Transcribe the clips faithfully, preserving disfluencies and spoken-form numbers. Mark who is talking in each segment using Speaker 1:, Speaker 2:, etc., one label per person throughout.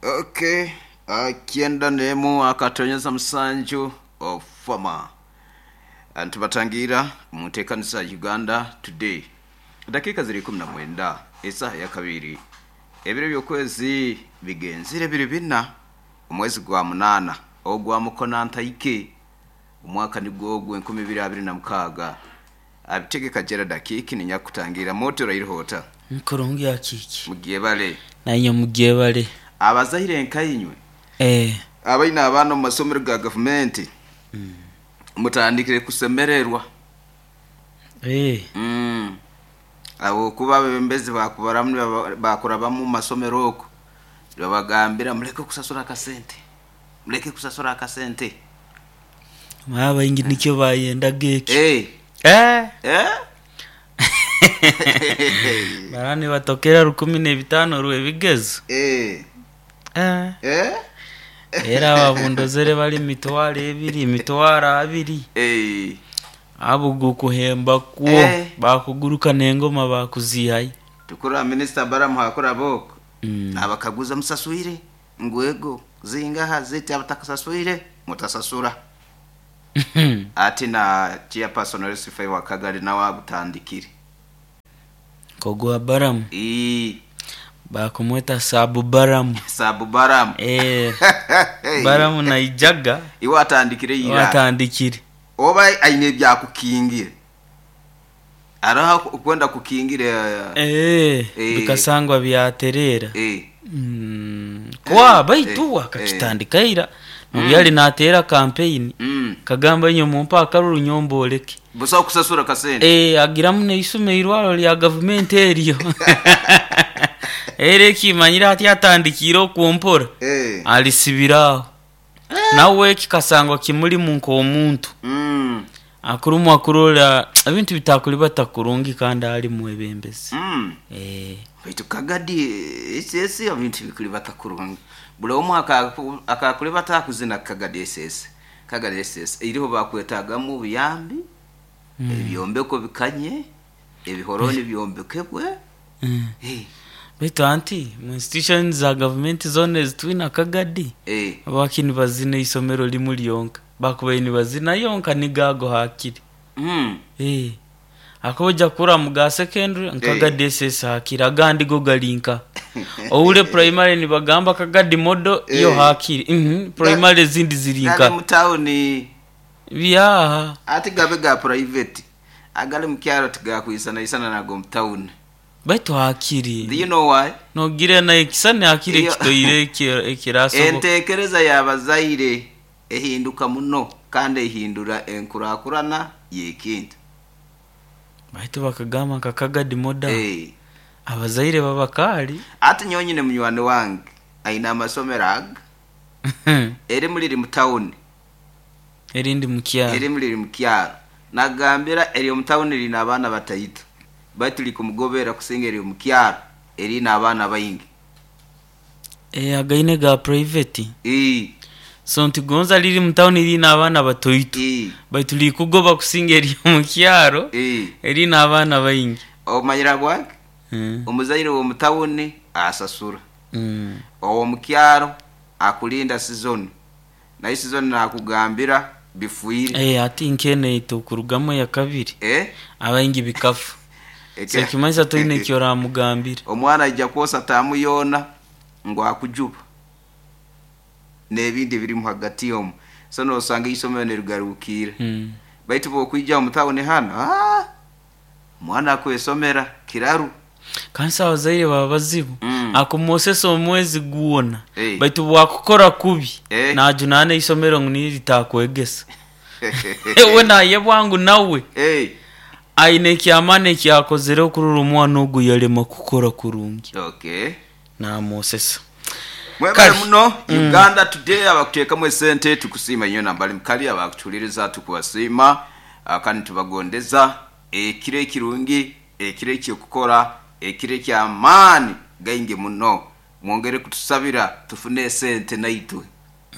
Speaker 1: Okay, akienda nemu akatonyeza musanju ofama ntubatangira mutekanisa Uganda Today. Dakika ziri kumi na mwenda isaha ya kabiri, ebiro by'okwezi bigenzire biri bina, omwezi gwa munana ogwa mukona ntaike, omwaka nigwo ogwo enkumi ibiri abiri na mukaaga. Abitegeka jera dakiki ninyakutangira moto rairihota
Speaker 2: Nkurungi akiki
Speaker 1: mugiye bale
Speaker 2: nainye mugiye bale
Speaker 1: abazahire nkayinywe
Speaker 2: eh
Speaker 1: abaina abaana omu masomero ga gavumenti mutandikire kusemererwa.
Speaker 2: Eh
Speaker 1: mm. Abo kuba abebembezi bakubaramu bakurabamu mu masomero oko babagambira muleke kusasura akasente, muleke kusasura akasente.
Speaker 2: Abaingi nikyo bayendaga ekyo.
Speaker 1: Eh.
Speaker 2: Eh
Speaker 1: eh
Speaker 2: barani batokera rukumi n'ebitaano rw'ebigezo.
Speaker 1: Eh.
Speaker 2: Eh
Speaker 1: eh
Speaker 2: era ababundozere bali mitwaro ebiri, mitwaro abiri.
Speaker 1: Eh.
Speaker 2: Abo gukuhemba kwo
Speaker 1: Eh.
Speaker 2: bakuguruka n'engoma bakuzihayo.
Speaker 1: Tukura minisita Baramu hakura boko
Speaker 2: Mm.
Speaker 1: abakaguza musaswire ngwego zingaha ziti abatakasaswire mutasasura. Ati na chairperson Lucifer wa Kagari nawe agutandikire
Speaker 2: Kogwa Baramu
Speaker 1: ii
Speaker 2: bakumweta Sabu Baramu.
Speaker 1: Sabu Baramu.
Speaker 2: Eh Baramu naijaga
Speaker 1: iwe atandikire ira
Speaker 2: watandikire
Speaker 1: oba aine ebyakukingira araha kwenda kukingira.
Speaker 2: Eh
Speaker 1: Eh.
Speaker 2: bikasangwa byaterera.
Speaker 1: Eh
Speaker 2: Mm, kwa baitu
Speaker 1: eh,
Speaker 2: akakitandika ira nobyali natera campaign
Speaker 1: mm.
Speaker 2: kagamba inyo mumpa akaruru nyomboleke
Speaker 1: busa kusasura kasente.
Speaker 2: Eh agiramu neisume irwaro lya gavumenti eryo era ekimanyire ati atandikire okumpora
Speaker 1: Eh.
Speaker 2: alisibiraho nawe kikasangwa kimulimu nk'omuntu
Speaker 1: mm.
Speaker 2: akurumu akurola ebintu bitakuli batakurungi kandi ali mwebembezi.
Speaker 1: mm.
Speaker 2: Eh
Speaker 1: baitu Kagadi S S ebintu bikuli batakurungi buli omu akaku- akakuli batakuzina Kagadi S S Kagadi S S iriho bakwetagamu obuyambi, ebyombeko bikanye, ebihoroni byombekebwe.
Speaker 2: Mm.
Speaker 1: Eh,
Speaker 2: baitu anti mu institution za gavumenti zona ezitwina Kagadi
Speaker 1: eh,
Speaker 2: abaki nibazina isomero limu lyonka bakubaire nibazina yonka nigago hakiri.
Speaker 1: mm.
Speaker 2: Eh akoja kura muga secondary nkagadi S S hakiri agandi go galinka oule primary nibagamba Kagadi modo iyo
Speaker 1: Eh.
Speaker 2: hakiri. Mhm primary zindi
Speaker 1: Gale
Speaker 2: zirinka
Speaker 1: mutawuni
Speaker 2: byaha
Speaker 1: ati gabe ga private agali mukyaro tigakwisana isana nago mutawuni.
Speaker 2: Baitu
Speaker 1: Do
Speaker 2: hakiri
Speaker 1: you know why?
Speaker 2: nogira na ekisane hakiri
Speaker 1: Iyo-
Speaker 2: ekitoire eki- ekirasoboka.
Speaker 1: Entekereza y'abazaire ehinduka muno kandi ehindura enkurakurana y'ekintu.
Speaker 2: Baitu bakagamba nka Kagadi moda
Speaker 1: Eh.
Speaker 2: abazaire babakali.
Speaker 1: Ati nyonyine munywani wange aine amasomero aga erimu liri mutawuni
Speaker 2: erindi mukyaro
Speaker 1: erimu liri mukyaro, nagambira eri omutawuni lina abaana bataito baitu likumugobera kusinga eri omukyaro erina abaana baingi.
Speaker 2: Eh againe ga private
Speaker 1: Ii,
Speaker 2: so ntigonza liri mutawuni lina abaana batoito
Speaker 1: ii,
Speaker 2: baitu likugoba kusinga eri omukyaro
Speaker 1: ii.
Speaker 2: erina abaana baingi.
Speaker 1: Omanyira bwange
Speaker 2: Mm.
Speaker 1: omuzaire w'omutawuni asasura,
Speaker 2: Mm.
Speaker 1: ow'omukyaro akulinda sizoni naye sizoni nakugambira bifuire.
Speaker 2: Eh ati nkene itukurugamu ya kabiri
Speaker 1: Eh?
Speaker 2: abaingi bikafu
Speaker 1: Eke-
Speaker 2: so kimanyisa toine ekyo oramugambira.
Speaker 1: Omwana aija kwosa taamu yoona ngu akujuba n'ebindi birimu hagati omu so nosanga isomero nirigarukiira.
Speaker 2: Mm.
Speaker 1: Baitu bwokwija omu tawuni hano, ah, omwana akwesomera kiraru.
Speaker 2: Kansi abazaire baba bazibu
Speaker 1: Mm.
Speaker 2: akumwosesa omwezi gwona
Speaker 1: Eh.
Speaker 2: baitu bwakukora kubi
Speaker 1: Eh.
Speaker 2: najunaana isomero ngu niyo litakwegesa we naye bwangu nawe
Speaker 1: Eh,
Speaker 2: aine ekyamaani ekyakozere okurora omwana ogu yalema kukora kurungi
Speaker 1: okay
Speaker 2: namwosesa.
Speaker 1: Mwebale
Speaker 2: Kale.
Speaker 1: muno Uganda Today abakuteekamu esente tukusiima nnyo nambali mukali abakutuuliriza tukubasiima, ah, kandi tubagondeza ekiro ekirungi, ekiro ekyokukora, ekiro ekyamaani gaingi muno. Mwongere kutusabira tufune esente naitwe.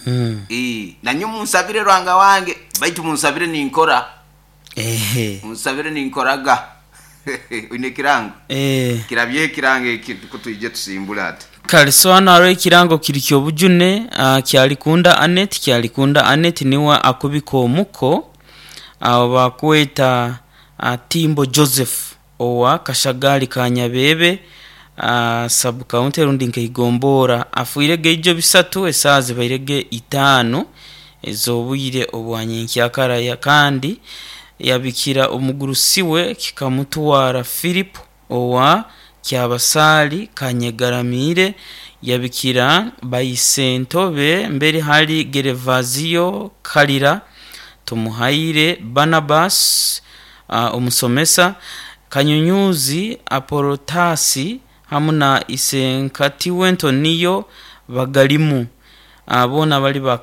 Speaker 2: Mm.
Speaker 1: Ii, nanyo munsabire rwanga wange baitu munsabire ninkora.
Speaker 2: Ehe.
Speaker 1: Munsabire ninkoraga. Oine ekirango
Speaker 2: Eh.
Speaker 1: kirabye ekirango eki kutwije tusimbula ati.
Speaker 2: Kale. Kale so hano hariho ekirango kiri kyobujune uh, Kyalikunda Anet. Kyalikunda Anet niwe akubika omuko abo bakweta uh, Timbo Joseph owa Kashagali Kanyabebe uh, sub county rundi nkeigombora afuirege ijo bisatu esaaha zibairege itaano ez'obwire obwanyenkyakara, kandi yabikira omugurusi we kikamutwara Philip owa Kyabasaali Kanyegaramiire, yabikira Baisentobe mbere hali Gerevazio Kalira Tumuhaire Barnabas uh, omusomesa Kanyunyuzi Apolotasi hamu na Isenkatiwe Ntoniyo Bagalimu. Boona bali ba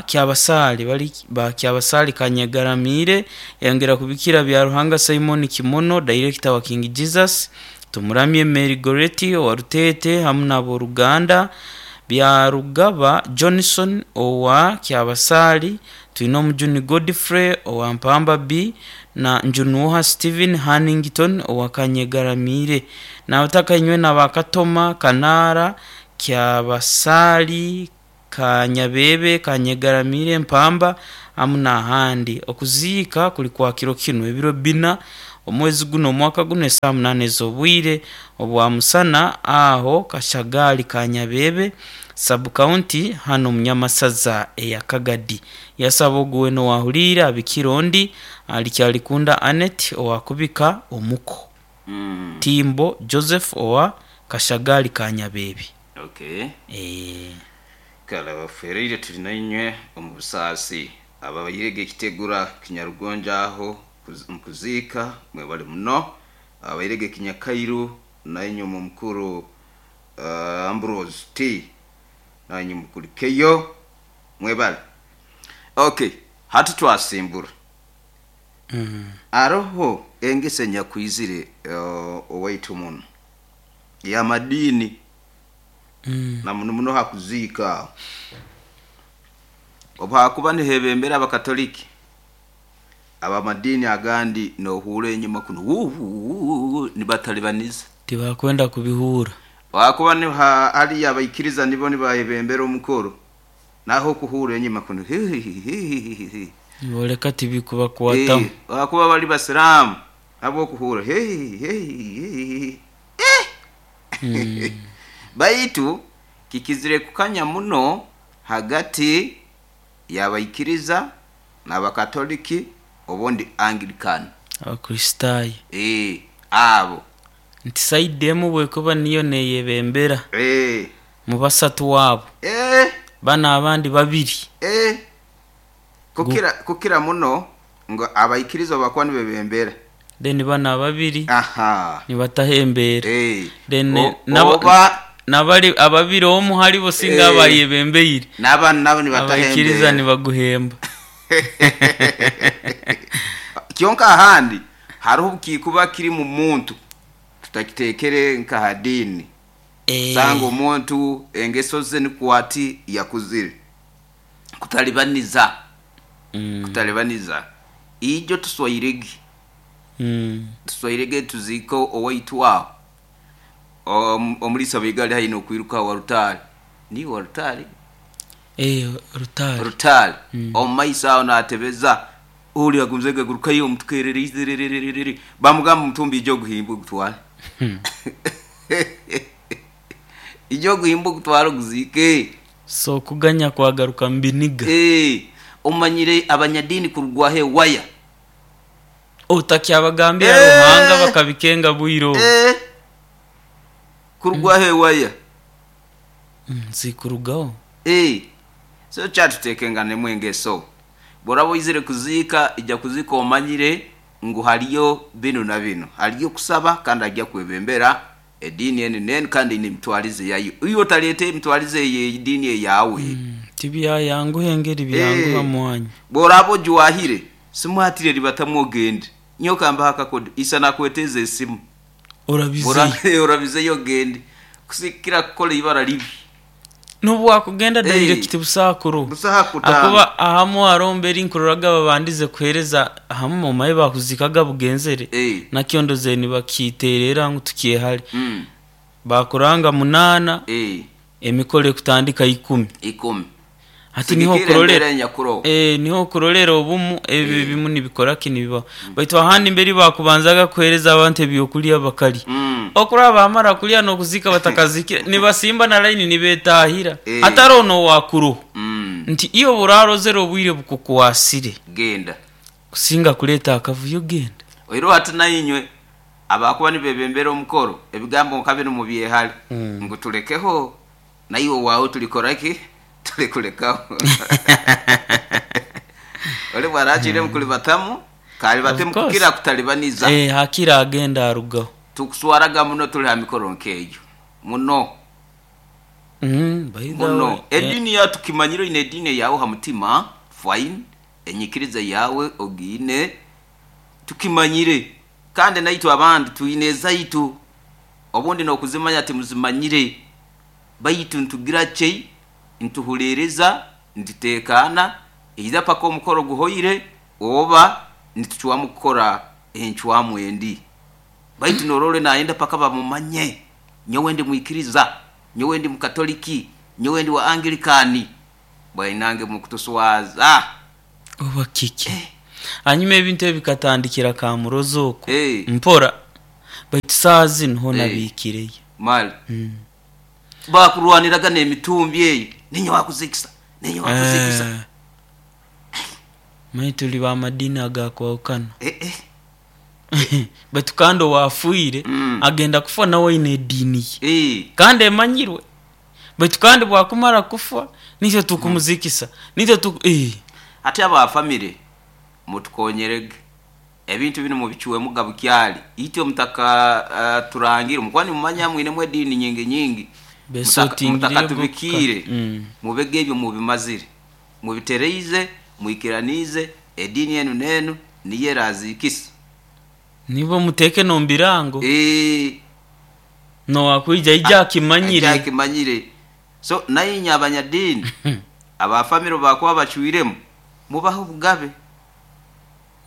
Speaker 2: Kyabasaali, bali ba Kyabasaali Kanyegaramiire. Yongera kubikira Byaruhanga Simon Kimono, director wa King Jesus, Tumuramye Mary Goretti owa Rutete hamu n'aboruganda, Byarugaba Johnson owa Kyabasaali, twine Omujuni Godfrey owa Mpamba B na Njunuha Stephen Hannington owa Kanyegaramiire. Nabataka inywe n'abakatoma Kanaara Kyabasaali Kanyabebe Kanyegaramiire Mpamba hamu n'ahandi. Okuziika kuli kwa kiro kinu ebiro bina omwezi guno omwaka guno esaaha munaana ez'obwire obwa musana aho Kashagali Kanyabebe sub county hano Munyamasaza eya Kagadi. Yasaba ogu wena owahuriire abikira ondi ali Kyalikunda Anet owakubika omuko
Speaker 1: Mm.
Speaker 2: Timbo Joseph owa Kashagali Kanyabebe.
Speaker 1: Okay.
Speaker 2: Eh,
Speaker 1: Kale abafereire tuli nainywe omu busaasi, ababairege ekitegura kinyarugonja aho kuz- mukuziika mwebale muno, abairege kinyakairu nainywe omu mukuru uh, Ambrose T nainywe mukulikeyo mwebale. Okay, hati twasimbura
Speaker 2: mm.
Speaker 1: aroho engese nyakwizire uh, owaitu muno yamadini
Speaker 2: Mm.
Speaker 1: na muno muno hakuziika aho obu hakuba nihebembera abakatoliki abamadini agandi nohura enyuma kuno wuuu nibatalibaniza
Speaker 2: Tibakwenda kubihura.
Speaker 1: wakuba ni hariya abaikiriza nibo nibahebembera omukoro naho okuhura enyuma kuno hihihihihihi.
Speaker 2: Niboleka tibikubakwatamu.
Speaker 1: Eh, wakuba bali basiramu abo okuhura hihihihihi.
Speaker 2: Mm.
Speaker 1: Baitu kikizire kukanya muno hagati y'abaikiriza n'abakatoliki obundi Anglican.
Speaker 2: Abakristaayo
Speaker 1: Eh, abo
Speaker 2: nti saidi emu bwekuba niyo neyebembera
Speaker 1: Eh,
Speaker 2: mu basatu waabo
Speaker 1: eh,
Speaker 2: bano abandi babiri
Speaker 1: eh. Kukira kukira muno ngo abaikiriza bakuba nibebembera
Speaker 2: then bano ababiri
Speaker 1: aha
Speaker 2: nibatahembera
Speaker 1: eh.
Speaker 2: then
Speaker 1: O-
Speaker 2: naba-
Speaker 1: oba
Speaker 2: nabali ababiri omu halibo singa
Speaker 1: Eh.
Speaker 2: abayebembeire
Speaker 1: n'abana nabo
Speaker 2: abaikiriza
Speaker 1: nibatahembera
Speaker 2: nibaguhemba.
Speaker 1: Kyonka ahandi hariho kikuba kiri mu muntu tutakitekere nka hadini.
Speaker 2: Eh,
Speaker 1: Sanga omuntu engeso ze nikwati yakuzire kutalibaniza
Speaker 2: mm,
Speaker 1: kutalibaniza ijo tuswairege
Speaker 2: mm,
Speaker 1: tuswairege tuziko owaitu aho Om- omulisa baigali haina okwiruka wa rutale ni wa rutale
Speaker 2: eh, rutari
Speaker 1: rutale omumaiso aho natebeza uli agumzege gurukayo omutukerere izererererere bamugamba omutumbi ijo oguhimba ogutwale ijo oguhimba ogutwale oguzike.
Speaker 2: So kuganya kwagaruka mbiniga.
Speaker 1: Eh, omanyire abanyadini kurugwaho ewaya
Speaker 2: Otakyabagambira
Speaker 1: Eh.
Speaker 2: Ruhanga bakabikenga bwire obu.
Speaker 1: Eh, kurugwaho ewaya.
Speaker 2: Mm, zikurugaho.
Speaker 1: Eh, so kyatutekenganemu engeso bworaba oizire kuziika ija kuziika omanyire ngu hariyo binu na binu, hariyo kusaba kandi ajja kwebembera ediini eni neni kandi ine emitwarize yayo, iwe otareeta emitwarize ey'ediini eyawe.
Speaker 2: Mm, tibyayanguha engeri byanguha
Speaker 1: Eh.
Speaker 2: mwanya.
Speaker 1: Bworaba ojuwahire simwatire ribatamu ogende nyoka mbaha akakodo isa nakweteza esimu.
Speaker 2: Orabizeyo.
Speaker 1: Bora- orabizeyo ogende kusikira kukola ibara libi.
Speaker 2: N'obu wakugenda
Speaker 1: Eh.
Speaker 2: direct busaakuru
Speaker 1: Busaha kutanga.
Speaker 2: akuba ahamu harombera inkuroraga babandize kuhereza ahamu mumaye bakuzikaga bugenzere
Speaker 1: Eh.
Speaker 2: nakyondoze nibakiterera ngu tukyehale.
Speaker 1: Mm.
Speaker 2: Bakuranga munana
Speaker 1: Eh,
Speaker 2: emikolo ekutandika ikumi.
Speaker 1: Ikumi.
Speaker 2: Hati niho
Speaker 1: Sigikira
Speaker 2: kurolera
Speaker 1: embera enyakuroho.
Speaker 2: Eh, niho kurolera obumu ebi bimu nibikora kinibiba baitu ahandi mberi bakubanzaga kuhereza abantu ebyokulya bakali
Speaker 1: Mm.
Speaker 2: okuraba bamara kulya n'okuzika batakazikira nibasimba na line nibetahira
Speaker 1: Eh.
Speaker 2: atari ono wakuruho
Speaker 1: Mm.
Speaker 2: nti iyo burarozera obwire bukukwasire
Speaker 1: Genda.
Speaker 2: kusinga kuleta akavuyo genda.
Speaker 1: Oiro hati nainywe abakuba nibebembera omukoro ebigambo nka bino mubyehale
Speaker 2: Mm.
Speaker 1: ngu tulekeho naiwe wawe tulikoraki tulikulekaho oli bwarakire mukulibatamu kalibatemu
Speaker 2: Of course.
Speaker 1: kukira kutalibaniza.
Speaker 2: Eh, hakira agenda arugaho.
Speaker 1: Tukuswaraga muno tuli ha mikoro nkeyo muno.
Speaker 2: Mm, by the
Speaker 1: Muno
Speaker 2: way, eh,
Speaker 1: edini ya tukimanyiro ine edini yawe ha mutima fine enyikiriza yawe ogiine tukimanyire kandi naitwe abandi tuine ezaitu obundi nokuzimanya timuzimanyire baitu ntugira chei ntuhulereza ntutekana eiza paka omukoro guhoire oba nituchwamu kukora enchwamu endi baitu norole naenda paka bamumanye nyowe ndi mwikiriza nyowe ndi mukatoliki nyowe ndi wa anglikani bwainange mukutuswaza.
Speaker 2: Oba kiki hanyuma ebintu ebi bikatandikira kamurozo okwo
Speaker 1: Eh.
Speaker 2: mpora baitu saa zino hona
Speaker 1: Eh.
Speaker 2: biikireyo.
Speaker 1: Mali bakurwaniraga n'emitumbi eyo ninye wakuzikisa ninye wakuzikisa.
Speaker 2: Eh. Manyi tuli bamadini agakwawukana.
Speaker 1: Eh, eh.
Speaker 2: Baitu kandi owafuire
Speaker 1: Mm.
Speaker 2: agenda kufa nawe aine ediini ye
Speaker 1: Eh.
Speaker 2: kandi emanyirwe baitu kandi bwakumara kufa nitwe tukumuzikisa nitwe tuku eh.
Speaker 1: Ate abafamire mutukonyerege ebintu bino mubicuwemu gabukyali itwe mutaka uh, turangire mukwani mumanya mwinemu ediini nyingi nyingi.
Speaker 2: Besotingire
Speaker 1: mutaka
Speaker 2: bo
Speaker 1: tubikire
Speaker 2: kuka- Mm.
Speaker 1: mubege ebyo mubimazire mubitereize mwikiranize ediini enu nenu niyo erazikisa.
Speaker 2: Nibo muteke nombirango
Speaker 1: Eh,
Speaker 2: nowakwija ija akimanyire.
Speaker 1: akimanyire so nayinya abanyadiini abafamire bakuba bacwiremu mubaho obugabe.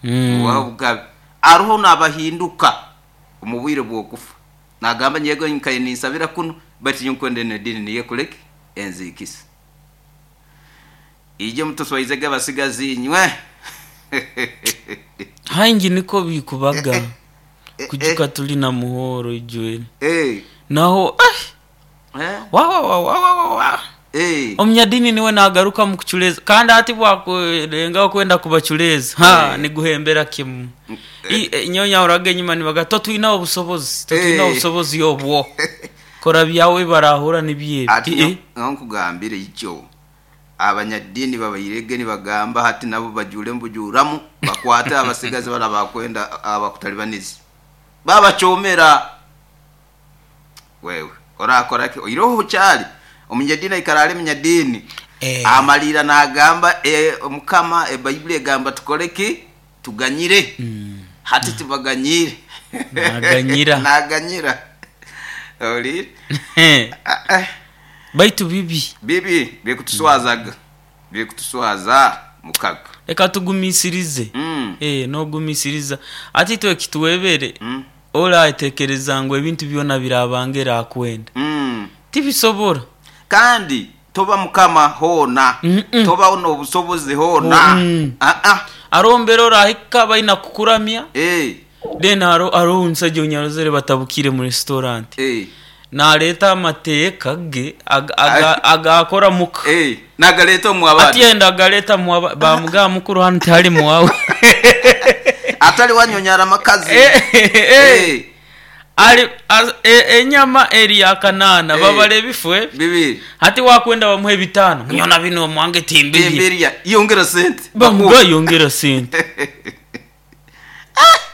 Speaker 2: Mm.
Speaker 1: Mubaho obugabe aruho nabahinduka omu bwire bwokufa nagamba nyego nkaye ninsabira kuno bati nkwende nedini niye kuleke enzikisa ije mutuswaizege abasigazi inywe.
Speaker 2: Hangi niko bikubaga kujuka
Speaker 1: eh.
Speaker 2: tuli na muhoro ijwere
Speaker 1: Eh,
Speaker 2: naho ah,
Speaker 1: eh,
Speaker 2: wa wa wa wa wa wa wa
Speaker 1: eh.
Speaker 2: omunyadini niwe nagaruka mukuchuleza kandi ati bwakurengaho kwenda kubachuleza ha
Speaker 1: Eh.
Speaker 2: niguhembera kimu I- eh, nyonya uraga enyuma nibaga totwina obusobozi totwina
Speaker 1: Eh.
Speaker 2: obusobozi obwo kora byawe barahura nibyebi.
Speaker 1: Ati
Speaker 2: Eh,
Speaker 1: nyo- nkugambire ikyo abanyadini babairege nibagamba hati nabo bajure mbujuramu bakwate abasigazi bala bakwenda abakutalibaniza babachomera wewe orakora ki oiroho kyali omunyadini aikara ali munyadini
Speaker 2: Eh.
Speaker 1: amalira nagamba e, mukama ebayibuli egamba tukole ki tuganyire hati tubaganyire.
Speaker 2: Naganyira.
Speaker 1: Naganyira oli. Ah, ah.
Speaker 2: Baitu bibi
Speaker 1: Bibi bikutuswazaga bikutuswaza mukaga.
Speaker 2: Reka tugumisirize.
Speaker 1: Mm.
Speaker 2: Eh, nogumisiriza ati twe kituwebere
Speaker 1: Mm.
Speaker 2: oratekereza ngu ebintu byona birabangera akwenda
Speaker 1: Mm.
Speaker 2: tibisobora.
Speaker 1: Kandi toba mukama hona
Speaker 2: Mm-mm.
Speaker 1: toba n'obusobozi hona.
Speaker 2: Mm.
Speaker 1: Ah, ah.
Speaker 2: Arombera orahika baina kukuramya
Speaker 1: Eh,
Speaker 2: then aro aro omusajja onyarozere batabukire mu restaurant
Speaker 1: eh,
Speaker 2: naleeta amateeka ge aga- aga- agakora muka
Speaker 1: eh. Nagaleeta omu abandi
Speaker 2: ati yenda agaleeta muwaba bamugaa mukuru hanu tihali muwawe.
Speaker 1: Atali wanyonyara amakazi.
Speaker 2: Eh, eh, eh.
Speaker 1: Eh,
Speaker 2: Ali az- e- enyama eri yakanaana
Speaker 1: Eh.
Speaker 2: babala ebifu ebi
Speaker 1: bibiri
Speaker 2: hati wakwenda bamuha ebitaano munyona bino mwange timbirye.
Speaker 1: Timbirya yongera sente.
Speaker 2: Bamuga yongera sente.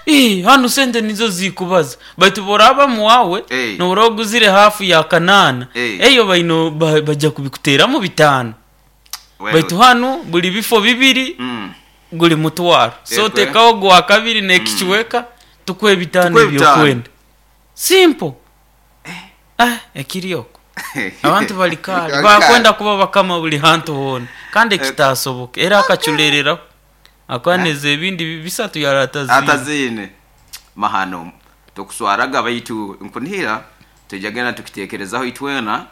Speaker 2: Eh, hano sente nizo zikubaza baitu boraba muwawe
Speaker 1: Eh.
Speaker 2: nobura oguzire hafu ya kanaana
Speaker 1: Eh.
Speaker 2: eyo baino ba- bajja kubikuteramu bitaano.
Speaker 1: Wewe.
Speaker 2: Baitu hano buli bifo bibiri
Speaker 1: Mm.
Speaker 2: guli mutwaro so
Speaker 1: Ekwe.
Speaker 2: tekaho gwa kabiri nekikiweka tukuhe ebitaano
Speaker 1: Tukuhe ebitaano.
Speaker 2: ebyokwenda simple ah ekirioko abantu bali kale
Speaker 1: Bali
Speaker 2: bakwenda kuba bakama buli hantu hona kandi ekitasoboka era akaculereraho akwaneza ebindi bi- bisatu yara atazine.
Speaker 1: Atazine mahano tukuswaraga baitu nkunihira Tujagenda tukitekerezaho itwena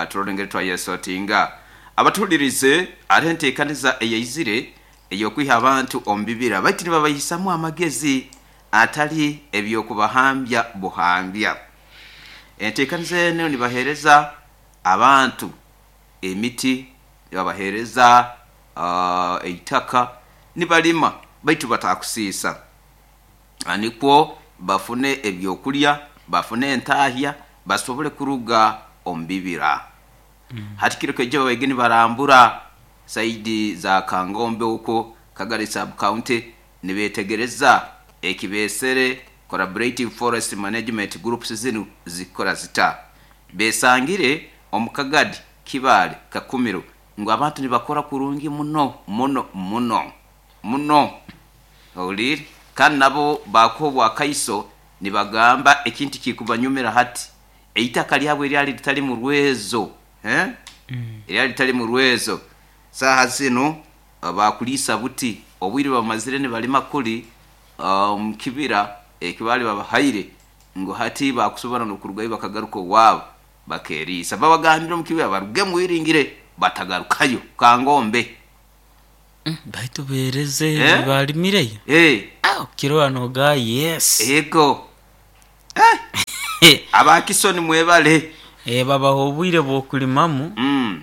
Speaker 1: turore twayesotinga. Abatulirize ari enteekaniza eyaizire ey'okwiha abantu omu bibira baitu nibabahisamu amagezi atali ebyokubahambya buhambya. Enteekaniza eno nibahereza abantu emiti, nibabahereza uh, eitaka nibalima baitu batakusiisa, nikwo bafune ebyokulya, bafune entahya, basobole kuruga omu bibira. Mm. Hati kiro kejo babaige nibarambura saidi za Kangombe huko Kagari sub county, nibetegereza ekibesere collaborative forest management groups zinu zikora zita. Besangire omukagadi Kibale Kakumiro ngu abantu nibakora kurungi muno muno muno muno oliri, kandi nabo bakobwa akaiso nibagamba ekintu kikubanyumira hati eitaka lyabwe lyali litali mu rwezo, eh mm. Lyali litali mu rwezo. Saha zino bakulisa buti obwire bamazire nibalima kuli um, kibira ekibali babahaire ngo hati bakusobora nokurugayo bakagaruka wabo bakerisa. Babagambira mu kibira baruge mwiringire batagarukayo Kangombe.
Speaker 2: Mm, baitu bereze eh? Balimireyo
Speaker 1: eh
Speaker 2: ah kiro anoga yes
Speaker 1: ego eh abakisoni mwebale
Speaker 2: eh babaho obwire bwokulimamu.
Speaker 1: Mm.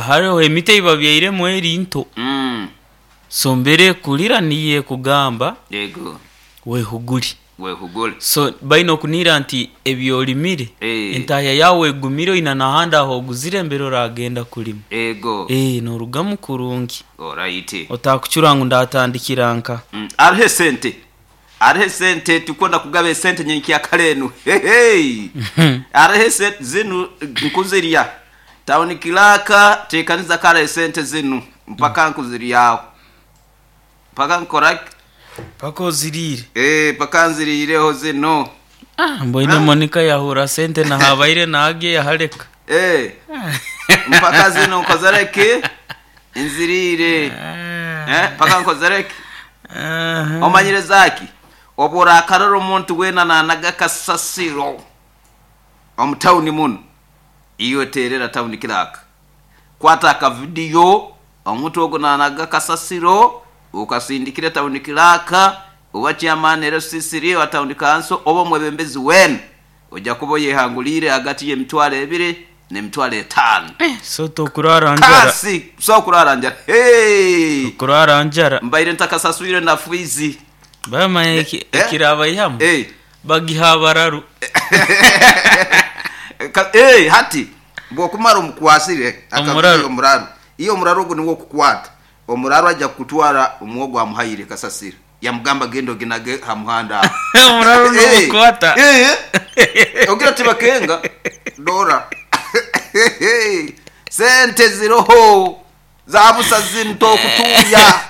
Speaker 2: Hariho emiti ebabyairemu eri nto.
Speaker 1: Mm.
Speaker 2: So mbere kulira niye kugamba
Speaker 1: yego
Speaker 2: wehuguli
Speaker 1: wehugule.
Speaker 2: So baino kunira nti ebyolimire
Speaker 1: e.
Speaker 2: Entahya yawe egumire ina nahanda aho oguzire mbere oragenda kulima
Speaker 1: ego
Speaker 2: eh norugamu kurungi.
Speaker 1: Alright,
Speaker 2: otakucura ngu ndatandikira nka
Speaker 1: mm. Arihe sente, arihe sente tukonda kugaba sente nyenki yakalenu. Hey, hey. Arihe sente zinu nkuziria tawuni kilaka tekaniza kale sente zinu mpaka nkuziriyaho mpaka nkora
Speaker 2: paka ozirire
Speaker 1: eh paka nzirireho zino.
Speaker 2: Ah mboine Monica yahura sente na habaire nage yahareka
Speaker 1: eh mpaka zino nkozereke nzirire eh paka nkozereke uh-huh. Omanyire zaki obora akaroro omuntu wena nanaga kasasiro omu tawuni muno iyo terera tawuni kilaka kwata aka video omuntu ogo nanaga kasasiro ukasindikire tawuni kilaka oba chairman R C C wa tawuni council oba mwebembezi wenu ojja kuba yehangulire hagati y'emitwalo ebiri n'emitwalo etaano.
Speaker 2: Eh, so tokurara njara
Speaker 1: kasi so kurara njara hey
Speaker 2: kurara njara
Speaker 1: mbaire ntakasaswire na fuizi
Speaker 2: bama ekiraba eh? Yamu
Speaker 1: eh
Speaker 2: bagihabararu
Speaker 1: eh hati bwokumara omukwasire akabiri omuraru iyo omuraru ogo niwo kukwata omuraru ajja kutwara omwogo amuhaire kasasira yamugamba gendo ginage hamuhanda
Speaker 2: omuraru no kukwata
Speaker 1: eh ogira tibakenga dora sente ziroho zabusa zinto kutuya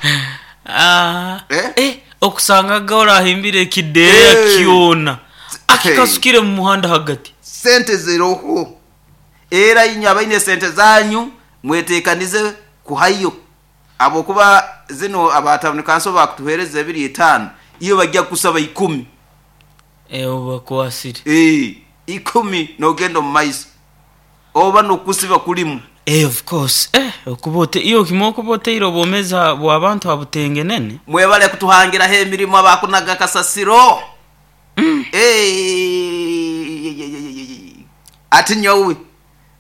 Speaker 2: ah eh, eh okusanga gora himbire kideya hey. Kiona akikasukire mu muhanda hagati
Speaker 1: sente ziroho era inya abaine sente zanyu mwetekanize kuhayo abo kuba zino abatawuni kanso bakutuhereza ebiri etano iyo bajya kusaba ikumi
Speaker 2: eh obakwasire
Speaker 1: eh ikumi nogenda mu maiso oba nokusiba kulimu
Speaker 2: eh of course eh okubote iyo kimoko boteiro bomeza bwabantu abutengenene
Speaker 1: mwebale kutuhangira he emirimo abakunaga kasasiro mm. Eh ati nyowe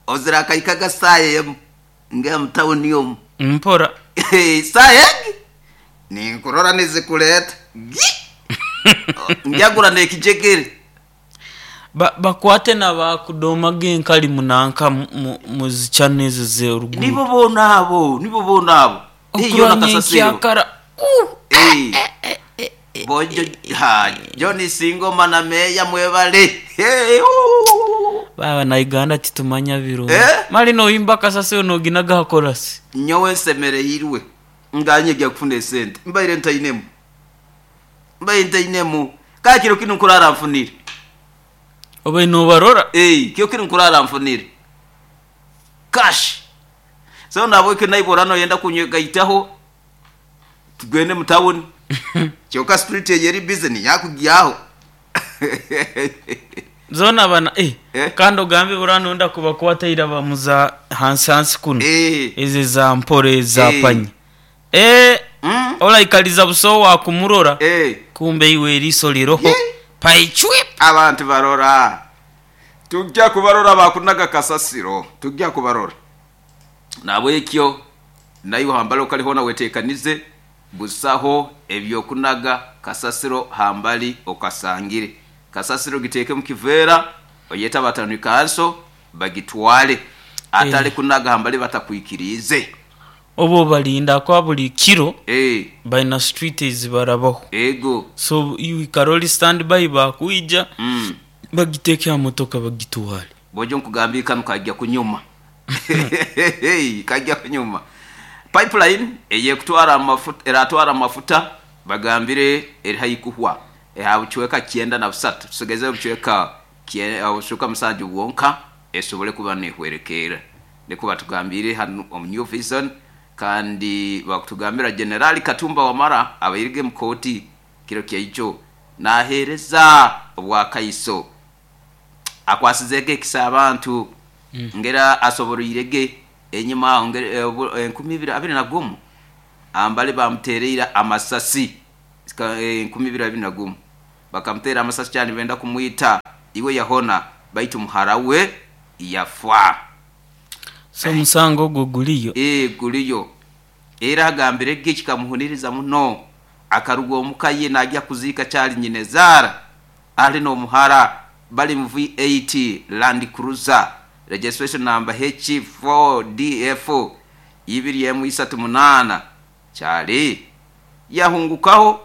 Speaker 1: ozira kaikaga saye nge mtawuni yomu
Speaker 2: mpora
Speaker 1: saye ninkurora nizikuleta njagura nekijegere
Speaker 2: ba bakwate na bakudoma genkali munanka muzichane ze urugu
Speaker 1: nibo bona abo nibo bona abo
Speaker 2: iyo nakasasiro
Speaker 1: eh bojo ha Johnny Singoma na meya mwebale hey
Speaker 2: baba na Uganda titumanya biro
Speaker 1: eh?
Speaker 2: Mali no imba kasasiro no ginaga hakorasi
Speaker 1: nyowe semereirwe nganye gya kufuna sente mbaire ntainemu mbaire ntainemu kakiro kinu nkurara mfunire
Speaker 2: obe no barora
Speaker 1: eh kyo kinu nkurara mfunire cash so nabo ke naiborano yenda kunyega tugende mu town kyoka street yeri busy yakugyaho.
Speaker 2: Zona bana eh,
Speaker 1: Eh.
Speaker 2: kandi ogambe buranonda kubakwataira bamuza hansi hansi kuno.
Speaker 1: Eh.
Speaker 2: Eze za mpore za
Speaker 1: Eh.
Speaker 2: panya. Eh,
Speaker 1: Mm.
Speaker 2: olaikaliza buso wa kumurora.
Speaker 1: Eh.
Speaker 2: Kumbe iwe eriso liroho.
Speaker 1: Ye.
Speaker 2: Paichwip.
Speaker 1: Abantu barora, tujja kubarora bakunaga kasasiro, tujja kubarora nabwekyo nayo hambali okaliho wetekanize busaho ebyokunaga kasasiro hambali okasangire kasasiro giteeke mu kiveera oyeta batanu kanso bagitwale atali
Speaker 2: Eh.
Speaker 1: kunaga hambali batakwikirize.
Speaker 2: Obo balinda kwa buli kiro
Speaker 1: Eh,
Speaker 2: balina street ezibarabaho.
Speaker 1: Ego.
Speaker 2: So iwe karoli stand by bakwija
Speaker 1: mm.
Speaker 2: bagiteeke ha motoka bagitwale.
Speaker 1: Bojo nkugambye kano kajja kunyuma, kajja kunyuma. Pipeline eyekutwara amafuta, eratwara amafuta bagambire eri haikuhwa eha bucweka kyenda na busatu, tusigeze obucweka kye- obucweka musanju bwonka esobole kuba nehwerekera, niko batugambire hano omu New Vision. Kandi bakutugambira Generali Katumba Wamara abairige mu kooti kiro kyaijo nahereza obwakaiso akwasizege ekisa abantu ngera asoboroirege enyuma aho ngere- eh, obu- enkumi ibiri abiri na gumu ambale bamutereira amasasi. Sika- eh, enkumi ibiri abiri na gumu bakamutera amasasi cyane benda kumwita, iwe yahona baitu muhara we yafa.
Speaker 2: So omusango ogwo guliyo.
Speaker 1: E guliyo, era agambire ge kikamuhuniriza muno, akaruga omuka ye najya kuziika kyali nyinezara ali n'omuhara bali mu V eight Land Cruiser registration number H four D F ibiri emu isatu munana kyali yahungukaho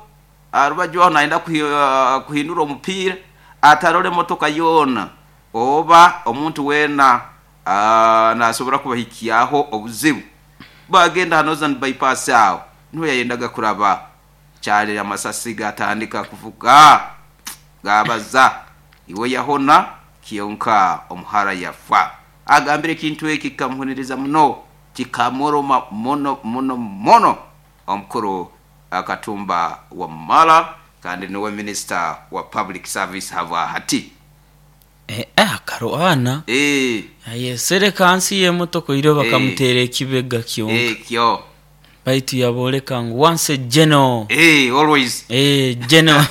Speaker 1: arubaju aho naenda kuhi, uh, kuhindura omupiira atarole motoka yoona oba omuntu weena uh, nasobora kubahikyaho obuzibu, bagenda ha Northern Bypass aho niho yayendaga kuraba kyali amasasi gatandika kuvuga gabaza, iwe yahona kionka omuhara yafa. Agambire ekintu eki kikamuhuniriza muno, kikamuruma muno muno muno. Omukuru Akatumba Wamala kandi niwe minister wa public service hava hati.
Speaker 2: Eh, eh, akaroana
Speaker 1: eh
Speaker 2: ayesereka hansi y'emotoka iro bakamutera ekibega kyonka.
Speaker 1: Ekyo.
Speaker 2: Baitu yaboleka ngu once a general.
Speaker 1: eh always.
Speaker 2: Eh, general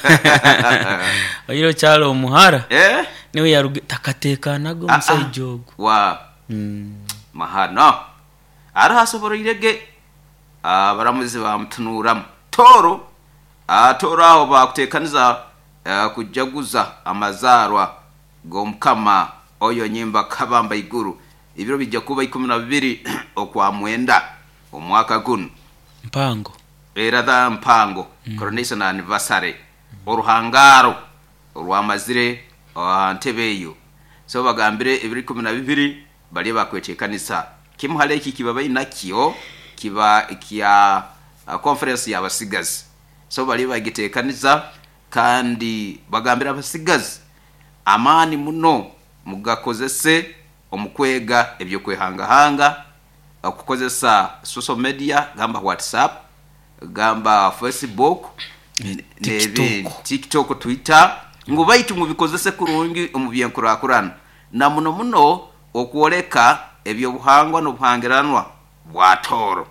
Speaker 2: oiro kyalo omuhara
Speaker 1: eh
Speaker 2: niwe yaruge takatekanaga
Speaker 1: Ah,
Speaker 2: omusaija
Speaker 1: ah.
Speaker 2: ogwo.
Speaker 1: Wa
Speaker 2: Mm.
Speaker 1: mahano arahasoboroirege abaramuzi bamutunuramu toro. Ah, toro aho bakutekaniza eh, kujaguza amazaarwa g'omukama oyo nyimba kabamba iguru, ibiro bijja kuba ikumi na bibiri okwa mwenda omwaka guno.
Speaker 2: Mpango.
Speaker 1: Era dha mpango mm. coronation anniversary oruhangaro orwamazire ah, ntebe eyo, so bagambire ebiro ikumi na bibiri bali bakwetekanisa kimu hali eki kiba bainakyo kiba kya uh, conference y'abasigazi, so bali bagitekaniza kandi bagambira abasigazi amaani muno mugakozese omukwega ebyokwehangahanga, okukozesa social media gamba WhatsApp, gamba Facebook,
Speaker 2: TikTok.
Speaker 1: TikTok, Twitter, ngu baitu mubikozese kurungi omu byenkurakurana na muno muno okwoleka ebyobuhangwa n'obuhangiranwa bwa Tooro,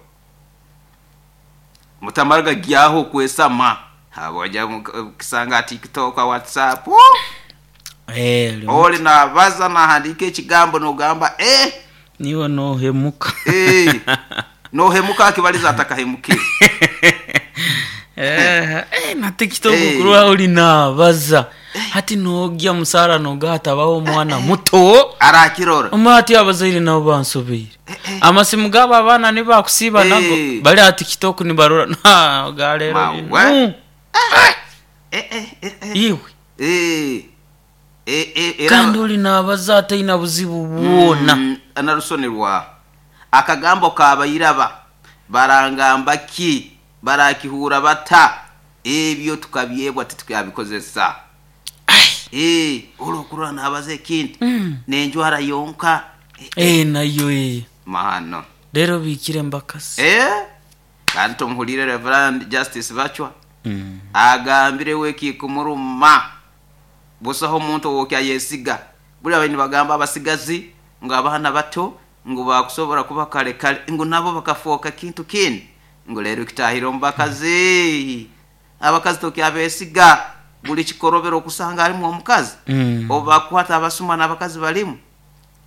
Speaker 1: mutamara gagyaho okwesama habwajya kisanga TikTok, WhatsApp. Oh!
Speaker 2: Eh,
Speaker 1: Oli nabaza nahandika ekigambo nogamba eh
Speaker 2: niwe nohemuka.
Speaker 1: Eh, nohemuka akibaliza atakahemukire.
Speaker 2: Eh, eh, na TikTok
Speaker 1: Eh.
Speaker 2: kurwa uli nabaza hati nogya musara nogatabaho omwana muto
Speaker 1: arakirora.
Speaker 2: omwati abazaire nabo bansobeire amasimu gabo abaana nibakusiiba nago
Speaker 1: Eh.
Speaker 2: bali aha TikTok nibarora Na, galero
Speaker 1: Mawe.
Speaker 2: bino.
Speaker 1: Eh, eh, eh, eh.
Speaker 2: Iwe
Speaker 1: Eh, eh, eh, era-
Speaker 2: kandi oli nabaza ataina buzibu bwona.
Speaker 1: Mm, narusonerwa akagambo kabayiraba barangamba ki barakihura bata ebyo tukabyebwa titukabikozesa. Eh, olwokurora nabaza ekintu
Speaker 2: Mm.
Speaker 1: nenjwara yonka. Eh,
Speaker 2: Eh, nayo eh.
Speaker 1: mahano.
Speaker 2: Rero bikire mbakasi.
Speaker 1: Eh, kandi tumuhulire Reverend Justice Bachwa
Speaker 2: Mm.
Speaker 1: agambire we kikumuruma. Busaho omuntu owokyayesiga. Buli abaini bagamba abasigazi ngu abaana bato ngu bakusobora kuba kale kale ngu nabo bakafooka kintu kindi, ngu leero kitahire omu bakazi. Abakazi tokyabesiga, buli kikorobero okusanga alimu omukazi.
Speaker 2: Mm.
Speaker 1: Obu bakukwata abasuma n'abakazi balimu.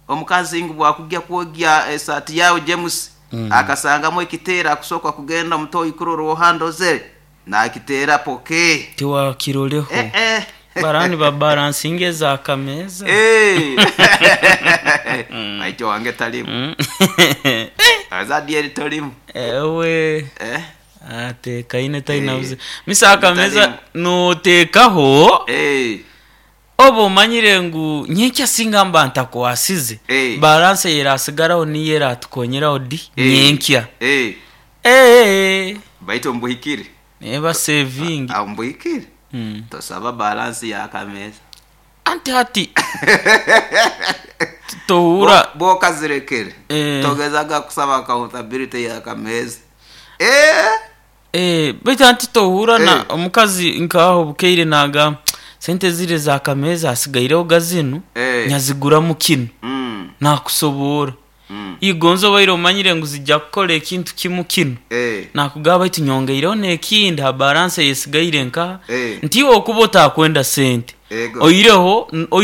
Speaker 1: Omukazi ngu bwakujja kwogya esaati yawe James,
Speaker 2: Mm.
Speaker 1: akasangamu ekiteera, akusooka kugenda omutoyi kurora ohandozere nakiteera poke.
Speaker 2: Tiwakiroleho.
Speaker 1: Eh, eh.
Speaker 2: Barani babalansinga ezakameza.
Speaker 1: Eh. Maito wange talimu.
Speaker 2: Mm.
Speaker 1: Azadieri tolimu.
Speaker 2: Ewe.
Speaker 1: Eh.
Speaker 2: Atekaine tainabuze.
Speaker 1: Eh.
Speaker 2: Misa akameza
Speaker 1: Talimu.
Speaker 2: notekaho.
Speaker 1: Eh.
Speaker 2: Oba omanyire ngu nyenkya singa mba ntakwasize,
Speaker 1: Eh.
Speaker 2: balanse yerasigaraho niyo eratukonyeraho di
Speaker 1: Eh.
Speaker 2: nyenkya.
Speaker 1: Eh.
Speaker 2: Eh.
Speaker 1: Baito mbuhikire.
Speaker 2: Neba saving.
Speaker 1: Aho mbuhikire.
Speaker 2: Mm.
Speaker 1: Tosaba balance yakameza.
Speaker 2: Anti hati tohura.
Speaker 1: Bokazirekere.
Speaker 2: Eh.
Speaker 1: Togezaga kusaba accountability yakameza. Eh.
Speaker 2: Eh, baitu anti tohura na
Speaker 1: Eh.
Speaker 2: omukazi nkaho bukeire naga sente zire za kameza asigaireho gazinu
Speaker 1: Eh.
Speaker 2: nyaziguramu kinu.
Speaker 1: Mm.
Speaker 2: Nakusobora.
Speaker 1: Mm.
Speaker 2: Igonzo baire omanyire ngu zijja kukola ekintu kimu kinu.
Speaker 1: Eh.
Speaker 2: Nakugaba baitu nyongeireho n'ekindi ha balance yesigaire nkaha.
Speaker 1: Eh.
Speaker 2: Nti iwe okuba otakwenda sente.
Speaker 1: Ego.
Speaker 2: Oireho n-